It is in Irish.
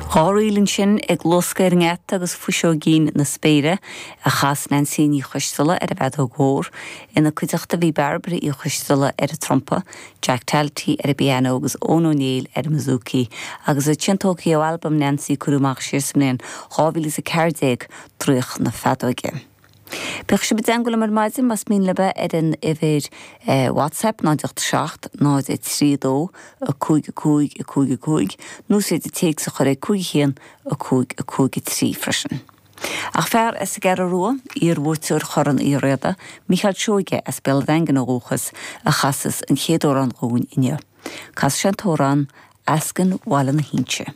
Ríl ansin ag luascadh ar an ngeata agus Fuiseoigín na Spéire a chas Neansaí Ní Choisteala ar an bhfeadóg mhór. Ina cuideachta bhí Bairbre Uí Choisteala ar an trumpa, Jack Talty ar an bpianó agus Eoin Ó Néill ar an mbouzouki. Agus iad sin tógtha ó albam Neansaí a cuireadh amach siar sa mbliain 2014, Draíocht na Feadóige. Bíodh sibh i dteangmháil liom ar maidin más mian libh ar an uimhir WhatsApp 0 8 7 0 3 2 5 5 5 5 nó is féidir téacs a chur ag 5 1 5 5 3 freisin. Ach fear as an gCeathrú Rua, iar-bhuaiteoir Chorn Uí Riada, Mícheál Seoige as Béal an Daingin ó dhúchas, a chasas an chéad amhrán dhúinn inniu. Casfaidh sé an t-amhrán 'Eascann Bhaile na hInse'.